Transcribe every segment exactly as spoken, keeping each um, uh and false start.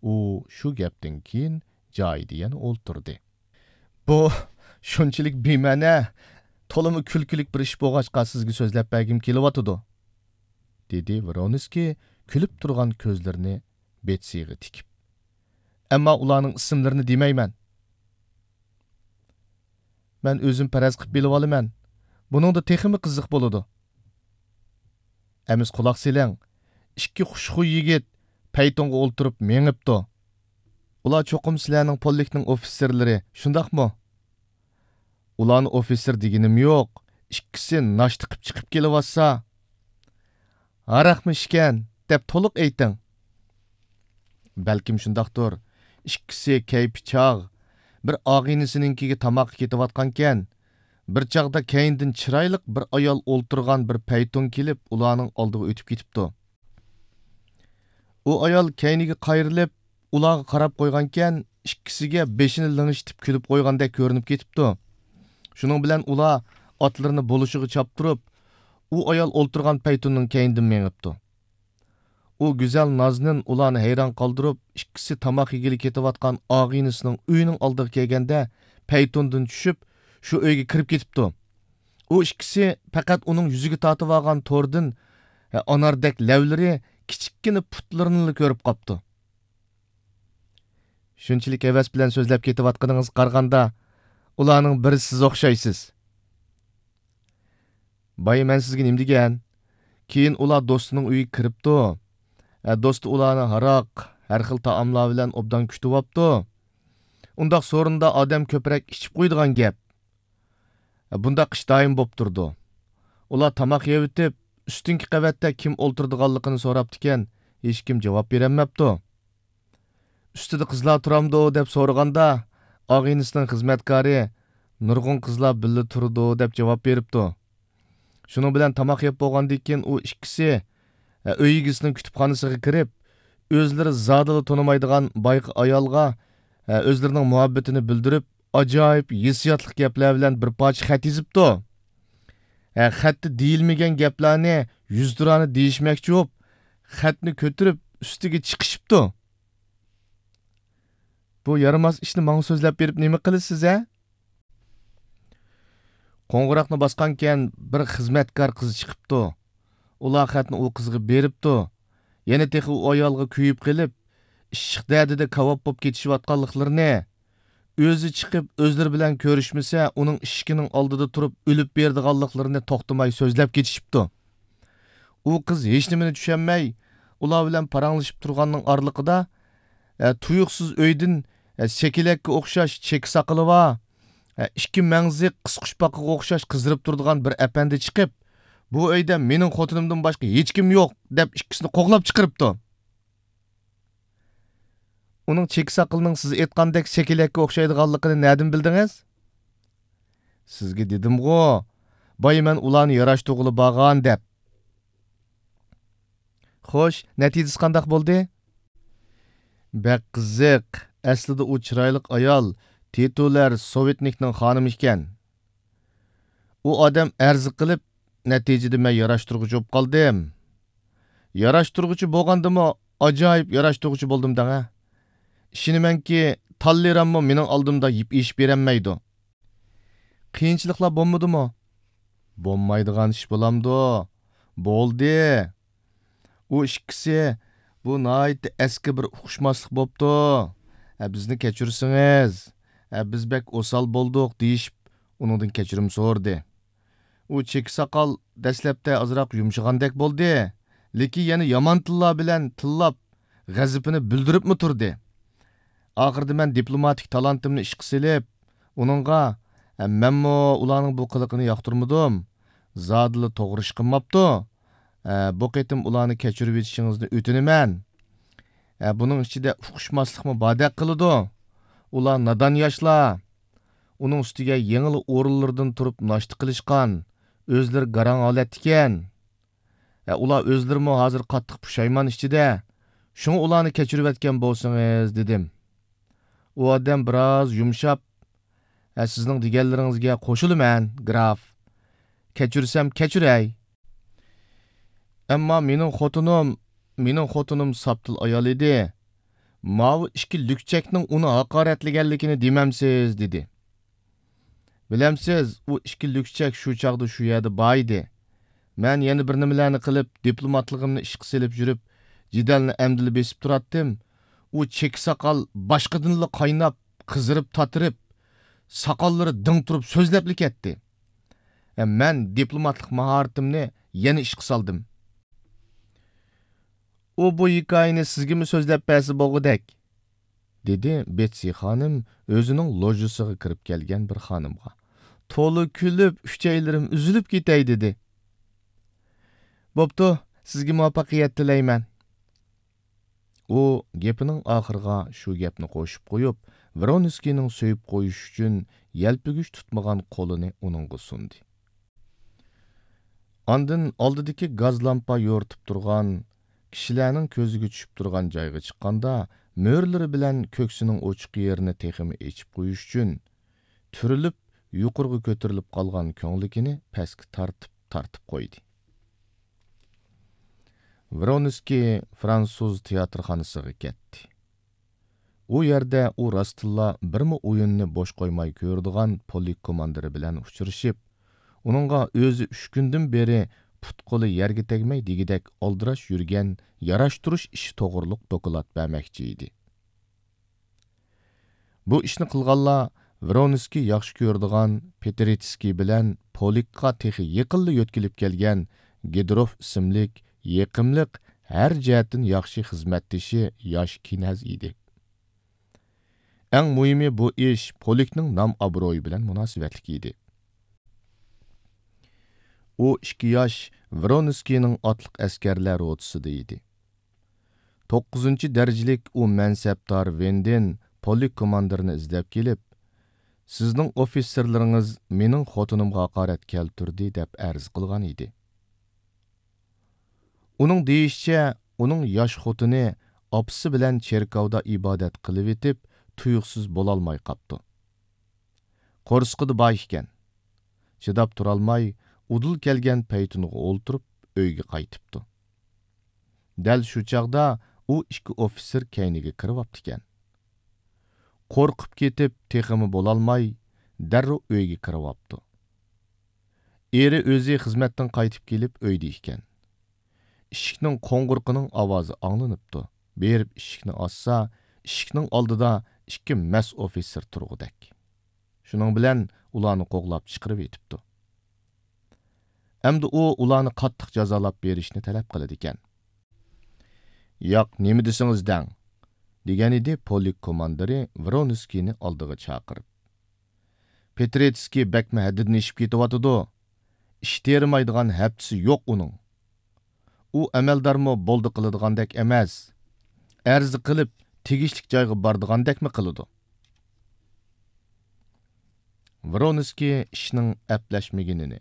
ئۇ شۇ گەپتىن كېيىن جايىدا يەنە ئولتۇردى. بۇ شۇنچىلىك بىمەنە، تولىمۇ كۈلكىلىك بىر ئىش بولغاچقا سىزگە سۆزلەپ بەرگۈم كېلىۋاتىدۇ، دېدى ۋرونسكىي كۈلۈپ تۇرغان كۆزلىرىنى بېتسىغا تىكىپ. ئەمما ئۇلارنىڭ ئىسىملىرىنى دېمەيمەن. مەن ئۆزۈم پەرەز قىلىپ بىلىۋالىمەن. بۇنىڭدا تېخىمۇ قىزىق بولىدۇ. ئەمىسە قۇلاق سېلىڭ، ئىككى خۇشخۇي يىگىت پەيتۇنغا ئولتۇرۇپ مېڭىپتۇ. ئۇلار چوقۇم سىلەرنىڭ پولكنىڭ ئوفىتسېرلىرى، شۇنداقمۇ؟ ئۇلارنى ئوفىتسېر دېگىنىم يوق، ئىككىسى ناشتا قىپ چىقىپ كېلىۋاتسا. ھاراقمۇ ئىچكەن، دەپ تولۇق ئېيتىڭ. بەلكىم شۇنداقتۇر. ئىككىسى كەيپى چاغ، بىر ئاغىنىسىنىڭكىگە تاماققا كېتىۋاتقانىكەن. بىر چاغدا كەينىدىن چىرايلىق بىر ئايال ئولتۇرغان بىر پەيتۇن كېلىپ، ئۇلارنىڭ ئالدىغا ئۆتۈپ كېتىپتۇ. ئۇ ئايال كەينىگە قايرىلىپ، ئۇلارغا قاراپ قويغانىكەن، ئىككىسىگە بېشىنى لىڭشىتىپ كۈلۈپ قويغاندەك كۆرۈنۈپ كېتىپتۇ. شۇنىڭ بىلەن ئۇلار ئاتلىرىنى بولۇشىغا چاپتۇرۇپ، ئۇ ئايال ئولتۇرغان پەيتۇننىڭ كەينىدىن مېڭىپتۇ. ئۇ گۈزەل نازنىن ئۇلارنى ھەيران قالدۇرۇپ، ئىككىسى تاماق يېگىلى كېتىۋاتقان ئاغىنىسىنىڭ ئۆيىنىڭ ئالدىغا كەلگەندە، پەيتۇندىن چۈشۈپ، شۇ ئۆيگە كىرىپ كېتىپتۇ. ئۇ ئىككىسى پەقەت ئۇنىڭ يۈزىگە تارتىۋالغان توردىن، ئاناردەك لەۋلىرى، كىچىككىنە پۇتلىرىنىلا كۆرۈپ قاپتۇ. شۇنچىلىك ھەۋەس بىلەن سۆزلەپ كېتىۋاتقىنىڭىزغا قارىغاندا، ئۇلارنىڭ بىرى سىز ئوخشايسىز. بايا مەن سىزگە نېمە دېگەن؟ كېيىن ئۇلار دوستىنىڭ ئۆيىگە كىرىپتۇ. ئە، دوستى ئۇلارنى ھاراق، ھەر خىل تائاملار بىلەن ئوبدان كۈتۈۋاپتۇ. ئۇنداق سورۇندا ئادەم كۆپرەك ئىچىپ قويىدىغان گەپ. ئە، بۇنداق ئىش دائىم بوپ تۇرىدۇ. ئۇلار تاماق يەۋېتىپ، ئۈستۈنكى قەۋەتتە كىم ئولتۇرىدىغانلىقىنى سوراپتىكەن، ھېچكىم جاۋاب بېرەلمەپتۇ. ئۈستىدە قىزلار تۇرامدۇ دەپ سورىغاندا، ئاغىنىسىنىڭ خىزمەتكارى، نۇرغۇن قىزلار بىللە تۇرىدۇ دەپ جاۋاب بېرىپتۇ. شۇنىڭ بىلەن تاماق يەپ بولغاندىن كېيىن ئۇ ئىككىسى، ئە، ئۆي ئىگىسىنىڭ كۇتۇپخانىسىغا كىرىپ، ئۆزلىرى زادىلا تونۇمايدىغان بايىقى ئايالغا، ئە، ئۆزلىرىنىڭ مۇھەببىتىنى بىلدۈرۈپ، ئاجايىپ ھېسسىياتلىق گەپلەر بىلەن بىر پارچە خەت يېزىپتۇ. ھە، خەتتە دېيىلمىگەن گەپلەرنى يۈزتۇرانە دېيىشمەكچى بولۇپ، خەتنى كۆتۈرۈپ ئۈستىگە چىقىشىپتۇ. بۇ يارىماس ئىشنى ماڭا سۆزلەپ بېرىپ نېمە قىلىسىز، ھە؟ قوڭغۇراقنى باسقانكەن بىر خىزمەتكار قىز چىقىپتۇ. ئۇلار خەتنى ئۇ قىزغا بېرىپتۇ. يەنە تېخى ئۇ ئايالغا كۆيۈپ قېلىپ، ئىششىق دەردىدە كاۋاپ بولۇپ كېتىشىۋاتقانلىقلىرىنى، ئۆزى چىقىپ ئۆزلىرى بىلەن كۆرۈشمىسە، ئۇنىڭ ئىشىكىنىڭ ئالدىدا تۇرۇپ ئۆلۈپ بېرىدىغانلىقلىرىنى توختىماي سۆزلەپ كېتىشىپتۇ. ئۇ قىز ھېچنېمىنى چۈشەنمەي، ئۇلار بىلەن پاراڭلىشىپ تۇرغاننىڭ ئارىلىقىدا، ئە، تۇيۇقسىز ئۆيدىن، ئە، سېكىلەككە ئوخشاش چېكە ساقىلى بار، ئە، ئىككى مەڭزى قىسقۇچپاقىغا ئوخشاش قىزىرىپ تۇرىدىغان بىر ئەپەندى چىقىپ، بۇ ئۆيدە مېنىڭ خوتۇنۇمدىن باشقا ھېچكىم يوق، دەپ ئىككىسىنى قوغلاپ چىقىرىپتۇ. ئۇنىڭ چېكە ساقىلىنىڭ سىز ئېيتقاندەك سېكىلەككە ئوخشايدىغانلىقىنى نەدىن بىلدىڭىز؟ سىزگە دېدىمغۇ، بايا مەن ئۇلارنى ياراشتۇرغىلى بارغان دەپ. خوش، نەتىجىسى قانداق بولدى؟ بەك قىزىق. ئەسلىدە ئۇ چىرايلىق ئايال، تىتۇلەر سوۋېتنىكنىڭ خانىمى ئىكەن. ئۇ ئادەم ئەرز قىلىپ، نەتىجىدە مەن ياراشتۇرغۇچى بولۇپ قالدىم. ياراشتۇرغۇچى بولغاندىمۇ ئاجايىپ ياراشتۇرغۇچى بولدۇم دەڭە. ئىشىنىمەنكى، تاللېراممۇ مېنىڭ ئالدىمدا يىپ ئېشىپ بېرەلمەيدۇ. قىيىنچىلىقلار بولمىدىمۇ؟ بولمايدىغان ئىش بولامدۇ؟ بولدى. ئۇ ئىككىسى، بۇ ناھايىتى ئەسكى بىر ئۇقۇشماسلىق بوپتۇ. ھە، بىزنى كەچۈرسىڭىز. ھە، بىز بەك ئوسال بولدۇق، دېيىشىپ، ئۇنىڭدىن كەچۈرۈم سورىدى. ئۇ چېكە ساقال دەسلەپتە ئازراق يۇمشىغاندەك بولدى، لېكىن يەنە يامان تىللار بىلەن تىللاپ، غەزىپىنى بىلدۈرۈپمۇ تۇردى. ئاخىرىدا مەن دىپلوماتىك تالانتىمنى ئىشقا سېلىپ، ئۇنىڭغا، ئە، مەنمۇ ئۇلارنىڭ بۇ قىلىقىنى ياقتۇرمىدىم. زادىلا توغرا ئىش قىلماپتۇ. ئە، بۇ قېتىم ئۇلارنى كەچۈرۈۋېتىشىڭىزنى ئۆتۈنىمەن. ئە، بۇنىڭ ئىچىدە ئۇقۇشماسلىقمۇ باردەك قىلىدۇ. ئۇلار نادان ياشلار. ئۇنىڭ ئۈستىگە يېڭىلا ئورۇنلىرىدىن تۇرۇپ ناشتا قىلىشقان، ئۆزلىرى گاراڭ ھالەتتىكەن. ھە، ئۇلار ئۆزلىرىمۇ ھازىر قاتتىق پۇشايمان ئىچىدە. شۇڭا ئۇلارنى كەچۈرۈۋەتكەن بولسىڭىز، دېدىم. ئۇ ئادەم بىراز يۇمشاپ، ھە، سىزنىڭ دېگەنلىرىڭىزگە قوشۇلىمەن، گراف. كەچۈرسەم كەچۈرەي. ئەمما مېنىڭ خوتۇنۇم، مېنىڭ خوتۇنۇم ساپتىل ئايال ئىدى. ماۋۇ ئىككى لۈكچەكنىڭ ئۇنى ھاقارەتلىگەنلىكىنى دېمەمسىز؟» دېدى. بىلەمسىز، ئۇ ئىككى لۈكچەك شۇ چاغدا شۇ يەردە بار ئىدى. مەن يەنە بىر نېمىلەرنى قىلىپ، دىپلوماتلىقىمنى ئىشقا سېلىپ يۈرۈپ، جېدەلنى ئەمدىلا بېسىپ تۇراتتىم. ئۇ چېكە ساقال باشقىدىنلا قايناپ، قىزىرىپ تاتىرىپ، ساقاللىرى دىڭ تۇرۇپ سۆزلەپلا كەتتى. ھە، مەن دىپلوماتلىق ماھارىتىمنى يەنە ئىشقا سالدىم. «ئۇ بۇ ھېكايىنى سىزگىمۇ سۆزلەپ بەرسە بولغۇدەك»، دېدى بېتسى خانىم ئۆزىنىڭ لوژىسىغا كىرىپ كەلگەن بىر خانىمغا. تولا كۈلۈپ، ئۈچەيلىرىم ئۈزۈلۈپ كېتەي دېدى. «بوپتۇ، سىزگە مۇۋەپپەقىيەت تىلەيمەن.» ئۇ گېپىنىڭ ئاخىرىغا شۇ گەپنى قوشۇپ قويۇپ، ۋرونسكىينىڭ سۆيۈپ قويۇش ئۈچۈن يەلپۈگۈچ تۇتمىغان قولىنى ئۇنىڭغا سۇندى. ئاندىن ئالدىدىكى گاز لامپا يورۇتۇپ تۇرغان، كىشىلەرنىڭ كۆزىگە چۈشۈپ تۇرغان جايغا چىققاندا، مۆرىلىرى بىلەن كۆكسىنىڭ ئوچۇق يېرىنى تېخىمۇ ئېچىپ قويۇش ئۈچۈن، تۈرۈلۈپ يۇقىرىغا كۆتۈرۈلۈپ قالغان كۆڭلىكىنى پەسكە تارتىپ، تارتىپ قويدى. ۋرونسكىي فىرانسۇز تىياتىرخانىسىغا كەتتى. ئۇ يەردە ئۇ راستتىنلا بىرمۇ ئويۇننى بوش قويماي كۆرىدىغان پولك كوماندىرى بىلەن ئۇچرىشىپ، ئۇنىڭغا ئۆزى ئۈچ كۈندىن بېرى پۇت-قولى يەرگە تەگمەي دېگۈدەك ئالدىراش يۈرگەن ياراشتۇرۇش ئىشى توغرۇلۇق دوكلات بەرمەكچى ئىدى. بۇ ئىشنى قىلغانلار ۋرونسكىي ياخشى كۆرىدىغان پېترېتسكىي بىلەن پولكقا تېخى يېقىنلا يۆتكىلىپ كەلگەن گىدروف ئىسىملىك يېقىملىق، ھەر جەھەتتىن ياخشى خىزمەتدىشى ياش كىنەز ئىدى. ئەڭ مۇھىمى، بۇ ئىش پولكنىڭ نام-ئابرۇيى بىلەن مۇناسىۋەتلىك ئىدى. ئۇ ئىككى ياش ۋرونسكىينىڭ ئاتلىق ئەسكەرلەر روتىسىدا ئىدى. توققۇزىنچى دەرىجىلىك ئۇ مەنسەپدار ۋېندېن پولك كوماندىرىنى ئىزدەپ كېلىپ، «سىزنىڭ ئوفىتسېرلىرىڭىز مېنىڭ خوتۇنۇمغا ھاقارەت كەلتۈردى» دەپ ئەرز قىلغان ئىدى. ئۇنىڭ دېيىشىچە، ئۇنىڭ ياش خوتۇنى ئاپىسى بىلەن چېركاۋدا ئىبادەت قىلىۋېتىپ، تۇيۇقسىز بولالماي قاپتۇ. قورسىقىدا بار ئىكەن. چىداپ تۇرالماي، ئۇدۇل كەلگەن پەيتۇنغا ئولتۇرۇپ، ئۆيگە قايتىپتۇ. دەل شۇ چاغدا ئۇ ئىككى ئوفىتسېر كەينىگە كىرىۋاپتىكەن. قورقۇپ كېتىپ، تېخىمۇ بولالماي، دەررۇ ئۆيگە كىرىۋاپتۇ. ئېرى ئۆزى خىزمەتتىن قايتىپ كېلىپ ئۆيدە ئىكەن. ئىشىكنىڭ قوڭغۇرىقىنىڭ ئاۋازى ئاڭلىنىپتۇ. بېرىپ ئىشىكنى ئاچسا، ئىشىكنىڭ ئالدىدا ئىككى مەس ئوفىتسېر تۇرغۇدەك. شۇنىڭ بىلەن ئۇلارنى قوغلاپ چىقىرىۋېتىپتۇ. ئەمدى ئۇ ئۇلارنى قاتتىق جازالاپ بېرىشنى تەلەپ قىلىدىكەن. «ياق، نېمە دېسىڭىز دەڭ» دېگەنىدى پولك كوماندىرى ۋرونسكىينى ئالدىغا چاقىرىپ. «پېترېتسكىي بەكمۇ ھەددىدىن ئېشىپ كېتىۋاتىدۇ. ئىش تېرىمايدىغان ھەپتىسى يوق ئۇنىڭ. ئۇ ئەمەلدارمۇ بولدى قىلىدىغاندەك ئەمەس. ئەرز قىلىپ، تېگىشلىك جايغا بارىدىغاندەكمۇ قىلىدۇ.» ۋرونسكىي ئىشنىڭ ئەپلەشمىگىنىنى،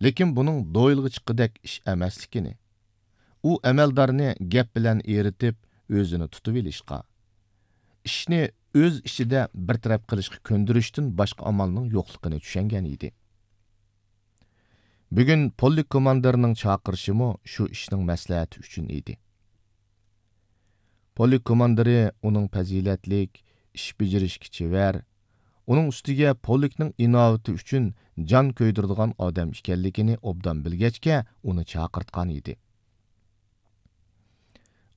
لېكىن بۇنىڭ دويلىغا چىققۇدەك ئىش ئەمەسلىكىنى، ئۇ ئەمەلدارنى گەپ بىلەن ئېرىتىپ، ئۆزىنى تۇتۇۋېلىشقا، ئىشنى ئۆز ئىچىدە بىر تەرەپ قىلىشقا كۆندۈرۈشتىن باشقا ئامالنىڭ يوقلۇقىنى چۈشەنگەن ئىدى. بۈگۈن پولك كوماندىرىنىڭ چاقىرىشىمۇ شۇ ئىشنىڭ مەسلىھەتى ئۈچۈن ئىدى. پولك كوماندىرى ئۇنىڭ پەزىلەتلىك، ئىش بېجىرىشكە چېۋەر، ئۇنىڭ ئۈستىگە پولكنىڭ ئىناۋىتى ئۈچۈن جان كۆيدۈرىدىغان ئادەم ئىكەنلىكىنى ئوبدان بىلگەچكە، ئۇنى چاقىرتقان ئىدى.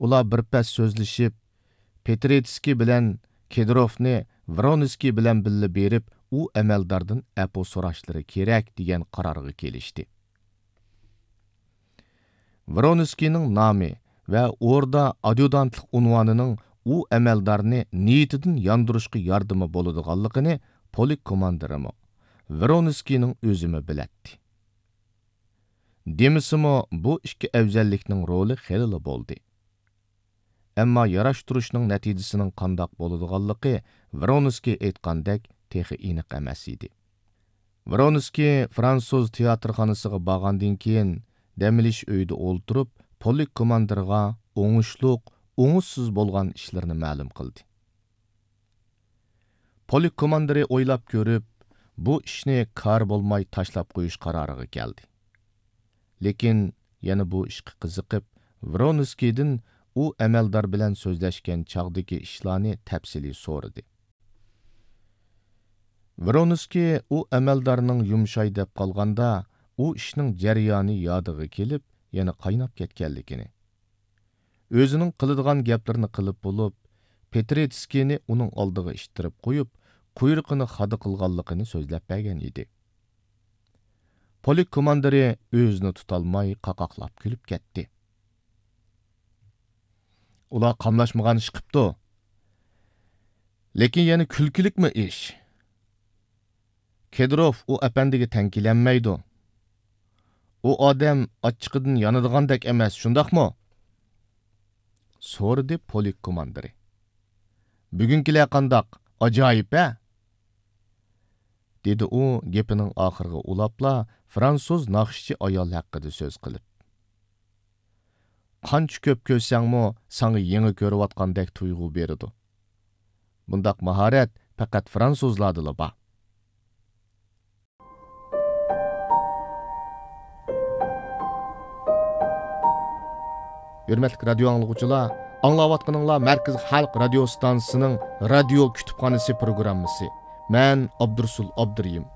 ئۇلار بىر پەس سۆزلىشىپ، پېترېتسكىي بىلەن كېدىروفنى ۋرونسكىي بىلەن بىللە بېرىپ، ئۇ ئەمەلداردىن ئەپۇ سوراشلىرى كېرەك، دېگەن قارارغا كېلىشتى. ۋرونسكىينىڭ نامى ۋە ئوردا ئاديۇدانتلىق ئۇنۋانىنىڭ ئۇ ئەمەلدارنى نىيىتىدىن ياندۇرۇشقا ياردىمى بولىدىغانلىقىنى پولك كوماندىرىمۇ، ۋرونسكىينىڭ ئۆزىمۇ بىلەتتى. دېمىسىمۇ، بۇ ئىككى ئەۋزەللىكنىڭ رولى خېلىلا بولدى. ئەمما ياراشتۇرۇشنىڭ نەتىجىسىنىڭ قانداق بولىدىغانلىقى ۋرونسكىي ئېيتقاندەك تېخى ئېنىق ئەمەس ئىدى. ۋرونسكىي فىرانسۇز تىياتىرخانىسىغا بارغاندىن كېيىن، دەم ئېلىش ئۆيىدە ئولتۇرۇپ، پولك كوماندىرىغا ئوڭۇشلۇق، ئوڭۇشسىز بولغان ئىشلىرىنى مەلۇم قىلدى. پولك كوماندىرى ئويلاپ كۆرۈپ، بۇ ئىشنى كارى بولماي تاشلاپ قويۇش قارارىغا كەلدى. لېكىن يەنە بۇ ئىشقا قىزىقىپ، ۋرونسكىيدىن ئۇ ئەمەلدار بىلەن سۆزلەشكەن چاغدىكى ئىشلارنى تەپسىلىي سورىدى. ۋرونسكىي ئۇ ئەمەلدارنىڭ يۇمشاي دەپ قالغاندا، ئۇ ئىشنىڭ جەريانى يادىغا كېلىپ، يەنە قايناپ كەتكەنلىكىنى، ئۆزىنىڭ قىلىدىغان گەپلىرىنى قىلىپ بولۇپ، پېترېتسكىينى ئۇنىڭ ئالدىغا ئىتتىرىپ قويۇپ، قۇيرۇقىنى خادا قىلغانلىقىنى سۆزلەپ بەرگەن ئىدى. پولك كوماندىرى ئۆزىنى تۇتالماي قاقاقلاپ كۈلۈپ كەتتى. ئۇلار قاملاشمىغان ئىش قىپتۇ. لېكىن يەنە كۈلكىلىكمۇ ئىش. كېدىروف ئۇ ئەپەندىگە تەڭ كېلەلمەيدۇ. ئۇ ئادەم ئاچچىقىدىن يانىدىغاندەك ئەمەس، شۇنداقمۇ؟ سورىدى پولك كوماندىرى. بۈگۈنكىلەر قانداق؟ ئاجايىپ ھە؟ دېدى ئۇ گېپىنىڭ ئاخىرىغا ئۇلاپلا، فرانسۇز ناخشىچى ئايال ھەققىدە سۆز قىلىپ. قانچە كۆپ كۆرسەڭمۇ، ساڭا يېڭى كۆرۈۋاتقاندەك تۇيغۇ بېرىدۇ. بۇنداق ماھارەت پەقەت فرانسۇزلاردىلا بار. ھۆرمەتلىك رادىيو ئاڭلىغۇچىلار، ئاڭلاۋاتقىنىڭلار مەركىزىي خەلق رادىيو ستانسىسىنىڭ رادىيو كۇتۇپخانىسى پروگراممىسى. مەن ئابدۇرۇسۇل ئابدۇرېھىم.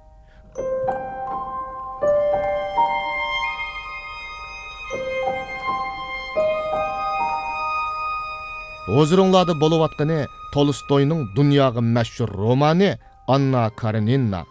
ھۇزۇرۇڭلاردا بولۇۋاتقىنى تولستوينىڭ دۇنياغا مەشھۇر رومانى ئاننا كارېنىنا.